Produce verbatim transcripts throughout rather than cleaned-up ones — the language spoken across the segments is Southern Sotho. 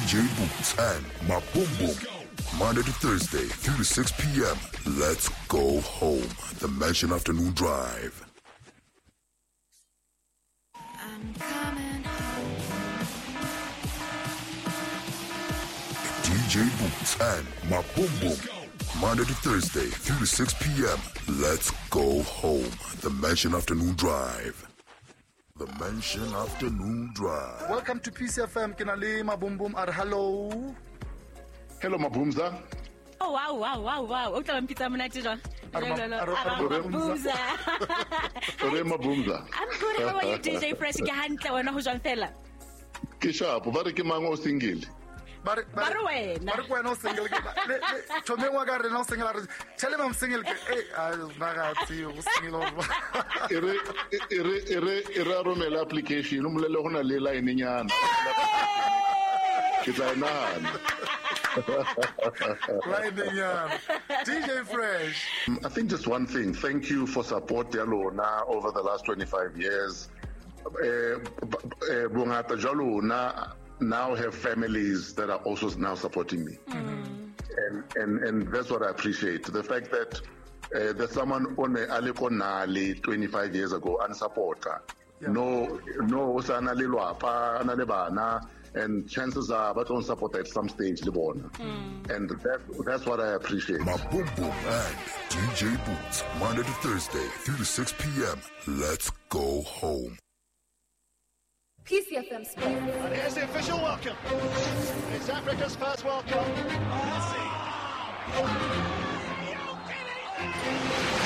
D J Boots and Maboom. Monday to Thursday, three to six p m. Let's go home. The Mansion Afternoon Drive. I'm coming home. D J Boots and Maboom. Monday to Thursday, three to six p m. Let's go home. The Mansion Afternoon Drive. The Mansion Afternoon Drive. Welcome to P C F M. Ke na le Mabombom a re hello. Hello, Mabumza. Oh wow wow wow wow. O tla mpitsa monate jwang? A re ma- No, no, no. a re- a re A re Mabumza. Re Mabumza. I'm good. How are you, D J Fresh? Ke hantle, wena ho jwang fela? Ke sharp, ba re ke mang o single? Ba re Ba re wena. Ba re ke wena o single ke le le thomeng wa ka rena o single, a re tell him I'm single ke eh a na ga tsebe o single or E re e re e re e re a romela application, o molele go na le line nyana. Ke tla e nahana. Line nyana. D J Fresh. I think just one thing. Thank you for support ya lona over the last twenty-five years. Eh, b- eh, bongata jwa lona now have families that are also now supporting me. And, and, and that's what I appreciate. The fact that uh, there's someone on a le ko nale twenty-five years ago and supporter. Yeah. No, no, o sa na le lwapa, a na le bana, and chances are ba tlo support at some stage le bona. And that, that's what I appreciate. Maboom and D J Boots. Monday to Thursday, three to six p m. Let's go home. P C F M Sports. And here's the official welcome. It's Africa's first World Cup. Messi.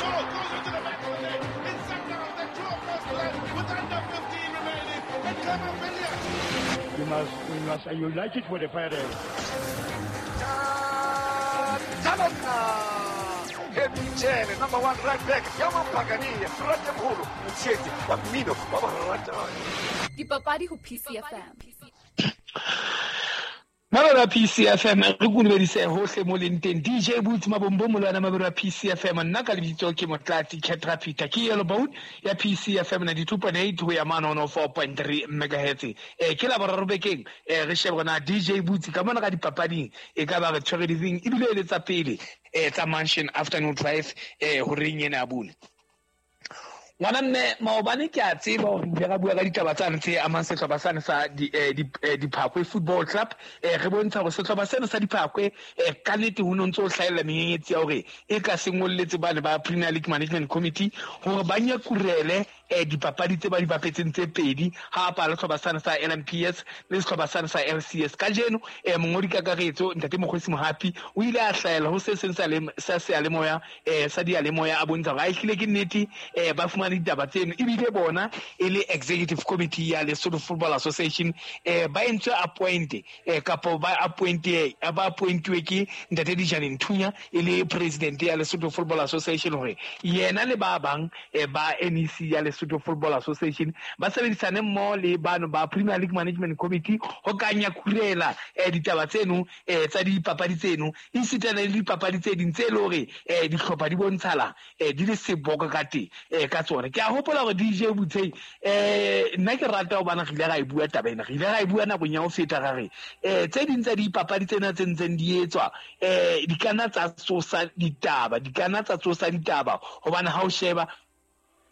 Ball goes into the back of the net. It's Sundowns that draw first blood with under fifteen remaining. And Khama Billiat. We must, we must unite it with the parents. Jele, number one right back ya Mapakania, Ratemholo, Motshetse wa mmino wa ba ratang. Dipapadi ho P C F M. Mabelo a P C F M, re kolobedise hohle mo leng teng. D J Boots Mabombo molwana mabelo a P C F M, nna ka lebitso ke Motlatsi Ketra Peter, ke Yellow Bone ya P C F M ninety-two point eight ho ya mane one oh four point three megahertz. Eh ke la boraro bekeng, eh re shebe rona D J Boots ka mona ka dipapading e ka ba re tshwere ditseng ebile e le tsa pele eh tsa Mansion Afternoon Drive eh ho reng ena ya bone. Ngwana mme, maobane ke a tseba hore re ile ra bua ka ditaba tsane tse amang sehlopha sane sa di, eh, di, eh, Diphakwe Football Club. eh, re bontsha hore sehlopha sena sa Diphakwe eh, ka nnete ho no ntso ho hlahella menyenyetsi ya hore e ka se ngolletse bane ba Premier League Management Committee hore ba nyakurele eh, dipapadi tse ba di bapetseng tse pedi ha pala sehlopha sane sa L M P S le sehlopha sane sa L C S. Kajeno eh, mongodi kakaretso ntate Mokgwesi Mohapi o ile a hlahela ho se seng sa le- sa seyalemoya eh, sa diyalemoya, a bontsha hore a ehlile ke nnete eh, ba fumane ditaba tseno ebile bona e le executive committee ya Lesotho Football Association eh, ba entswe appoint eh, kapo ba appoint ba appointuwe ke ntate Dijane Nthunya e le president ya Lesotho Football Association hore yena le ba bang eh, ba N E C ya Lesotho Football Association ba sebedisane mmoho le bano ba Premier League Management Committee ho ka nyakurela eh, ditaba tseno eh, tsa dipapadi tseno esitana le dipapadi tse ding tse e le hore eh, dihlopha di bontshala eh, di le seboka ka teng eh, ka tsona. Ke a hopola hore D J Butshei, eh, nna ke rata hobane re ile ra e bua taba ena, re ile ra e bua nakong ya ho feta, ra re eh, tse ding tsa dipapadi tsena tse ntseng di etswa eh, di ka nna tsa tsosa ditaba, di ka nna tsa tsosa ditaba hobane ha o sheba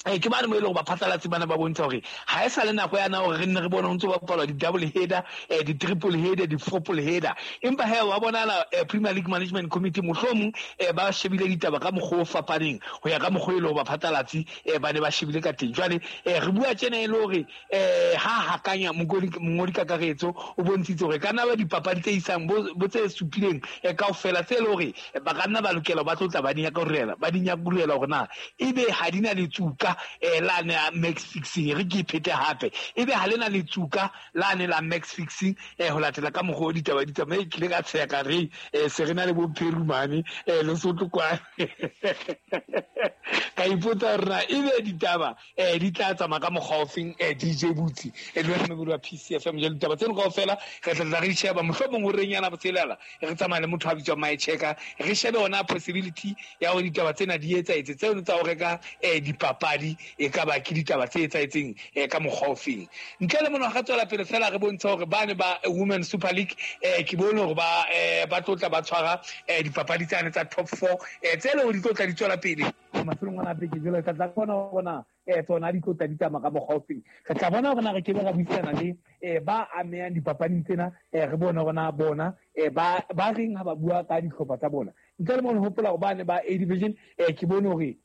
eh ke bane mo e leng hore baphatlalatsi bana ba bontsha hore ha e sa le nako yana hore re nne re bone ho ntso bapalwa di-double header, eh, di-triple header, di-fourple header, empa he wa bonahala eh, Premier League Management Committee mohlomong eh, ba shebile ditaba ka mokgwa o fapaneng ho ya ka mokgwa e leng hore baphatlalatsi eh, ba ne ba shebile ka teng. Jwale eh, re bua tjena e le hore eh, ha hakanya mongodi mongodi kakaretso o bontshitse hore ka nna ba dipapadi tse isang bo bo tse supileng eh, kaofela tse e le hore eh, ba ka nna ba lokela ba tlo tla ba di nyakurela ba di nyakurela hore na ebe ha di na letsuka eh, lane ya match fixing. Re ke iphete hape, ebe ha le na letsuka lane la match fixing eh, ho latela ka mokgwa o ditaba di tsamaye. Ke ile ka tsheya ka re eh, se re na le bo Pherumane eh, Lesotho kwane, ka ipotsa hore na ebe ditaba eh, di tla tsamaya ka mokgwa ofeng. eh, D J Butsi eh, le wena mobedi wa P C F M, jwale ditaba tseno kaofela re tla tla re di sheba mohlomong ho reng yana botshelela re tsamaya le motho a bitswang Maechecker, re shebe ona possibility ya hore ditaba tsena di etsahetse tseno tsa ho reka eh, dipapadi. dipapadi e ka ba ke ditaba tse etsahetseng eh, ka mokgwa ofeng. Ntle le mona ga tswela pele fela re bontsha hore bane ba Women Super League eh, ke bone hore ba eh, ba tlotla ba tshwara eh, dipapadi tsane tsa top four eh, tse le hore di tlotla di tswela pele mafelong ana beke. Jwale ka tla bona hore eh tsona di tlotla di tsamaya ka mokgwa ofeng. Re tla bona hore na re kebe ra buisana le eh ba amehang dipapading tsena, eh re bone hore na bona eh ba ba reng ha ba bua ka dihlopha tsa bona. Ntle le mona hopola hore bane ba A division eh ke bone hore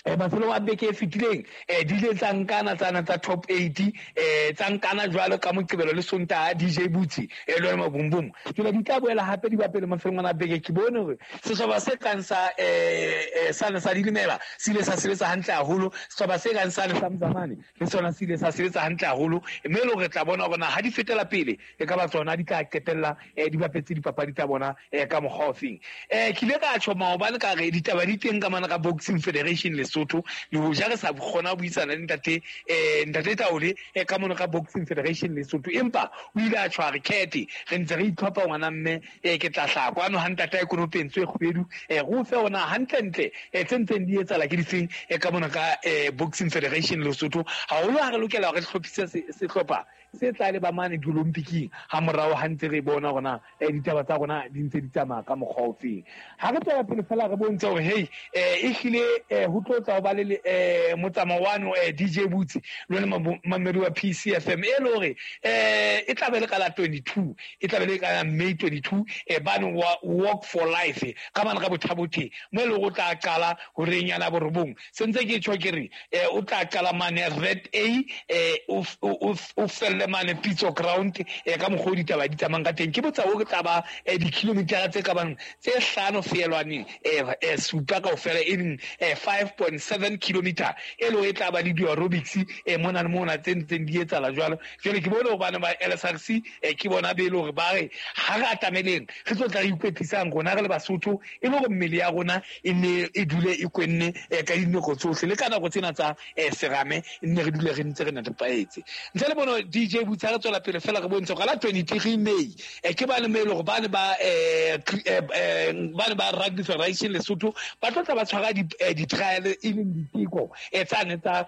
eh mafelong a beke e fetileng eh di ile tsa nkana tsana tsa top eight eh tsa nkana jwalo ka Moqebelo le Sontaha D J Butsi eh le Mabumbum. Jwale di tla boela hape di bapele mafelong ana beke. Ke bone hore sehlopha se kang sa eh sane sa Dilimela se ile sa sebetsa hantle haholo, sehlopha se kang sa sa Mzamane le sona se ile sa sebetsa hantle haholo, mme le hore re tla bona hore na ha di fetela pele e ka ba tsona di tla qetella eh di bapetse dipapadi tsa bona eh ka mokgwa ofeng. Eh ke ile ka tjho maobane ka re ditaba di teng ka mana ka Boxing Federation le Lesotho, le hoja re sa kgona ho buisana le ntate eh ntate Taole eh ka mona ka Boxing Federation Lesotho, empa o ile a tshwara kete re ntse re itlhopha ngwana mme eh ke tla hlaka kwano ha ntate a konopentse e kgwedu eh go fe ona hantle ntle eh tse ntseng di etsala ke difeng eh ka mona ka eh Boxing Federation Lesotho. Haholo ha re lokela hore re hlophise sehlopha se tla le ba mane diolympiking ha morao ha ntse re bona rona eh ditaba tsa rona di ntse di tsamaya ka mokgwa ofeng. Ha re tswela pele fela re bontshe hore hey eh e hlile eh ho tlo tla ba le eh motsamao wano eh D J Butsi le lona mamedi wa P C F M e le hore eh e tla be le ka la twenty-two e tla be le ka May twenty-two eh bane wa Walk for Life ka bana ka bothabothe mo e le go tla qala hore nyana borobong sentse ke tjho ke re eh o tla qala mane Red A eh o o felle mane Pitso ground eh ka mokgwa ditaba di tsamayang ka teng. Ke botsa o tla ba di-kilometer tse ka bang tse hlano feelwaneng eh supa kaofela e leng five point seven kilometer e le e tla ba le di-aerobics eh mona le mona tse ntseng di etsala jwalo. Jwale ke bone hore bana ba L S R C eh ke bona be le hore ba re ha re atameleng re tlo tla re ikwetlisang rona re le Basotho e le hore mmele ya rona e ne e dule e kwenne ka dinako tsohle le ka nako tsena tsa serame e nne re dule re ntse re netefaetse. Ntle le bono D J Butsa re tswela pele fela re bontshe ka la twenty-three May eh ke bane me le hore bane ba eh bane ba Rugby Federation Lesotho ba tlo tla ba tshwara di-trial e leng diteko e tsane tsa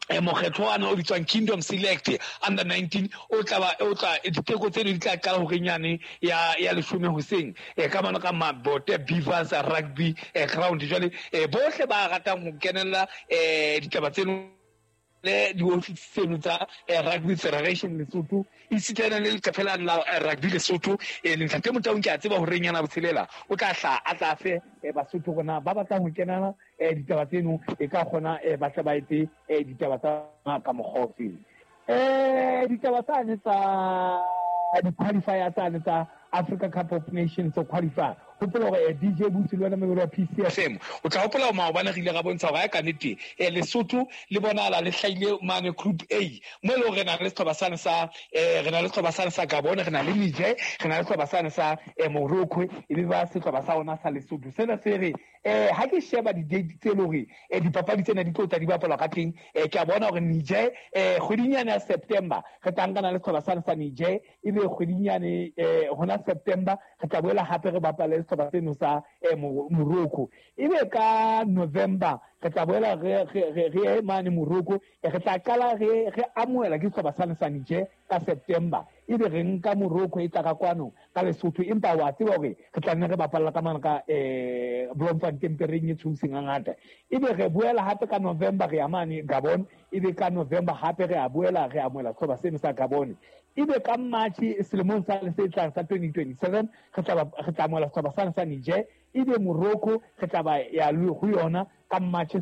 e mokgetho wa o bitswang Kingdom Select under nineteen o tla ba o tla diteko tseno di tla qala hore nyane ya ya leshome hoseng e ka bana ka Mabote Beavers Rugby ground. Jwale bohle ba ratang ho kenella eh ditaba tseno le diofisi tseno tsa Rugby Federation Lesotho esitana le leqephe la Rugby Lesotho e ntate Motaung ke a tseba hore nyana botshelela o tla hla a tla fe Basotho rona ba batlang ho kenela ditaba tseno e ka kgona ba tle ba etse ditaba tsa ka mokgwa ofeng. Eh ditaba tsane tsa di-qualifier tsane tsa Africa Cup of Nations so qualify hopola hore D J Butsi le wena memori wa P C F M o tla hopola hore maobane re ile ra bontsha hore ka nnete eh Lesotho le bonahala le hlahile mane Group A mo e le hore re na le sehlopha sane sa eh re na le sehlopha sane sa Gabon, re na le Niger, re na le sehlopha sane sa Morocco e be ba sehlopha sa rona sa Lesotho. Sena se re eh ha ke sheba di-date tse le hore eh dipapadi tsena di tlo tla di bapalwa ka teng eh ke a bona hore Niger eh kgwedinyane ya September re tla nkana le sehlopha sane sa Niger, e be kgwedinyane eh hona September re tla boela hape re bapale sehlopha seno sa Morocco, ebe ka November re tla boela re re re mane Morocco, re tla qala re re amohela ke sehlopha sane sa Niger ka September, ebe re nka Morocco e tla ka kwano ka Lesotho, empa wa tseba hore re tla nne re bapalla ka mane ka eh Bloemfontein pereng e tshoseng hangata, ebe re boela hape ka November re ya mane Gabon, ebe ka November hape re a boela re amohela sehlopha seno sa Gabon, ebe ka March selemong sa se tlang sa twenty twenty-seven re tla re tla amohela sehlopha sane sa Niger, ebe Morocco re tla ba ya ho yona ka March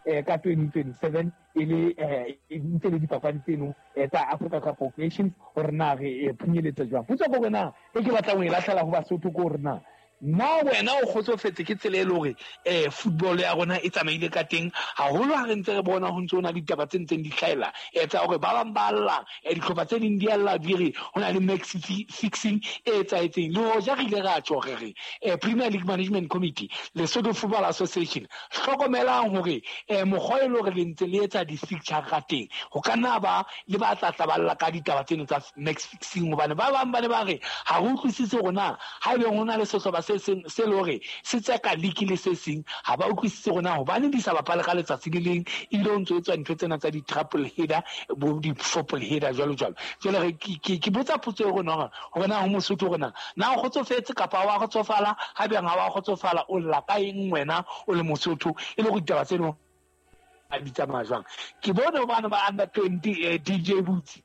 eh ka twenty twenty-seven e le eh ntse le dipapadi tseno tsa Africa Cup of Nations hore na re phunyeletsa jwang. Potso ke hore na e ke batlang ho e lahlela ho Basotho ke hore na na wena o kgotsofetse ke tsela e le hore eh football ya rona e tsamaile ka teng haholo ha re ntse re bona ho ntse ho na le ditaba tse ntseng di hlahela e tsa hore ba bang ba lla dihlopha tse ding di a lla di re ho na le match fixing e etsahetseng. Le hoja re ile ra tjho re re Premier League Management Committee Lesotho Football Association hlokomelang hore eh mokgwa e le hore le ntse le etsa di-fixture ka teng ho ka nna ba le ba tla tla ba lla ka ditaba tseno tsa match fixing, hobane ba bang ba ne ba re ha re utlwisise hore na ha ebe ho na le sehlopha se se seng se le hore se tseka league le se seng ha ba utlwisise rona hobane di sa bapale ka letsatsi le leng ebile o ntso etswa ntho tsena tsa di-triple header bo di-fourple header jwalo jwalo. Jwale re ke ke botsa potso e rona hore na ho Mosotho rona na o kgotsofetse kapa wa kgotsofala ha bjang ha wa kgotsofala o lla ka eng wena o le Mosotho e le go ditaba tseno a di tsamaya jwang. Ke bone bana ba under twenty eh, D J Boots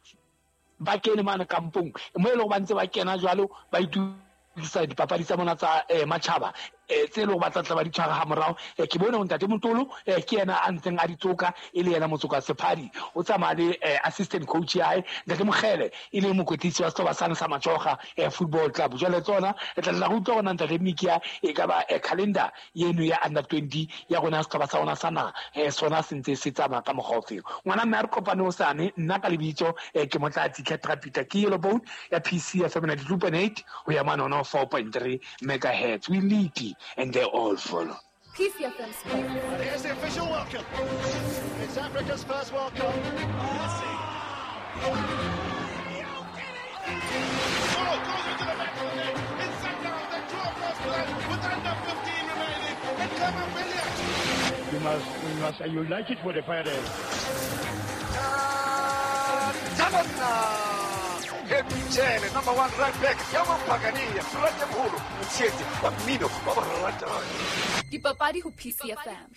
ba kene mane kampong mo e leng ba ntse ba kena jwalo ba itukisa dipapadi tsa bona tsa eh, matjhaba eh tse leng ba tla tla ba di tshwara ha morao. Ke bone ntate Motolo eh ke yena a ntseng a di tsoka e le yena motsoka sephadi o tsamaya le assistant coach ya hae ntate Mokhele e le mokwetlisi wa sehlopha sane sa Majoga eh football club. Jwale tsona e tla tla utlwa rona ntate Mikia e ka ba calendar yeno ya under twenty ya rona sehlopha sa rona sa naha eh sona se ntse se tsamaya ka mokgwa ofeng. Ngwana mme a re kopane o sane nna ka lebitso eh ke Motlatsi Ketra Peter ke Yellow Bone ya P C F M ninety-two point eight ho ya mane ona four point three megahertz. We lead and they all follow. P C F M Sports. And here's the official welcome. It's Africa's first World Cup. Messi. Ball goes into the back of the net. It's Sundowns that draw first blood with under fifteen remaining. And Khama Billiat. You must, you must, you like it for the parents. Chele, number one right back, Yamampagania, Ratemholo, Mtshetsi, wa mmino wa barata. Dipapadi ho P C F M.